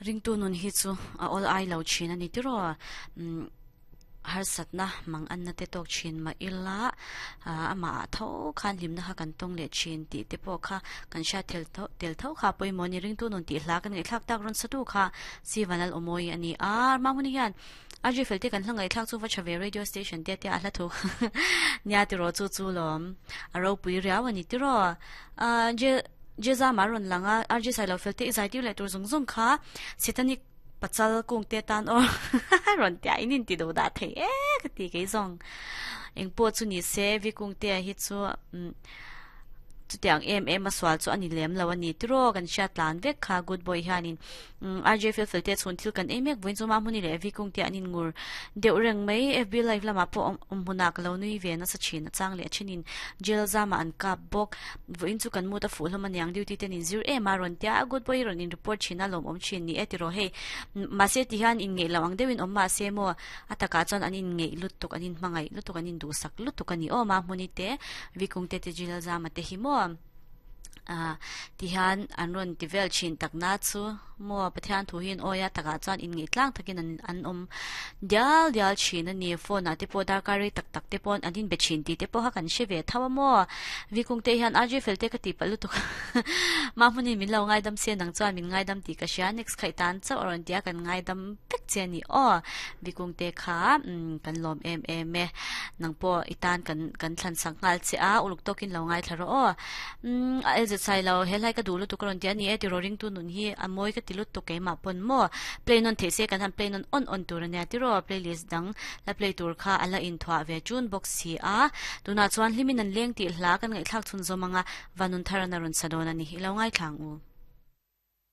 Ringtu nun hi chu a awl ai lo thin a ni tiraw? Umm harsatna mang anna te tawk thin mah ila amah ah tho khan hlimna kha kan tawng leh thin tih te pawh kha kan hriat tel tho tel tho kha pawimawh a ni. Ringtu nun tih hla kan ngaihthlak tak rawn sa tu kha Sivanal Awmawi a ni a, Mahmuni hian RJ Felte kan hla ngaihthlak chu va tha ve radio station te tia a hla thu nia tiraw chu chu lawm a ropui riau a ni tiraw Je Jeza mah rawn lang a RJ Sailo Felte i zai tir leh tur zawng zawng kha Satanic pachal kung te tan aw rawn tia in in ti duh dah thei e ka ti kei zawng engpawh chu ni se vi kung te hi chu chutiang em em a sual chu a ni lem lo a ni tiraw kan hriat tlan vek kha good boy hianin RJ fel fel te chhun thil kan ei mek vawiin chu Mahmuni leh Evi kung te an in ngur deuh reng mai FB live lamah pawh awm awm hmunah ka lo nui ve nasa thin a chang leh a thenin jail zamah an kap bawk vawiin chu kan mood a fuh hlawm aniang duty ten in zir em a rawn tia a good boy hi rawn in report thin a lawmawm thin ni e tiraw hei mahse ti hian in ngeih loh ang deuhin awm mahse maw a takah chuan an in ngeih lutuk an in hmangaih lutuk an in duhsak lutuk a ni aw Mahmuni te Evi kung te te jail zama te hi maw. Ah tihian an rawn ti vel thin tak na chu maw Pathian thu hi an awi a takah chuan inngeih tlang takin an an awm dial dial thin a ni phone ah te pawh darkar rei tak tak te pawh an inbe thin tih te pawh kha kan hre ve tho a maw vikung te hian RJ fel te ka tih palh lutuk mah hmunin min lo ngaidam se nang chuan min ngaidam tih ka hria next khaih tan chauh a rawn ti a kan ngaidam vek che a ni aw vikung te kha umm kan lawm em em e nang pawh i tan kan kan thlan sak nghal che a uluk tawkin lo ngaithla rawh aw. Umm a elzet sai lo he hlai ka duh lutuk a rawn ti a ni e tiraw ringtu nun hi a mawi ka ti lutuk keimah pawn maw play nawn theih se kan han play nawn awn awn tur a nia tiraw playlist dang la play tur kha a la inthuah ve chun bawk si a tunah chuan hlimin an leng tih hla kan ngaihthlak chhun zawm anga vanun thar an a rawn sa dawn a ni i lo ngaithla ang u.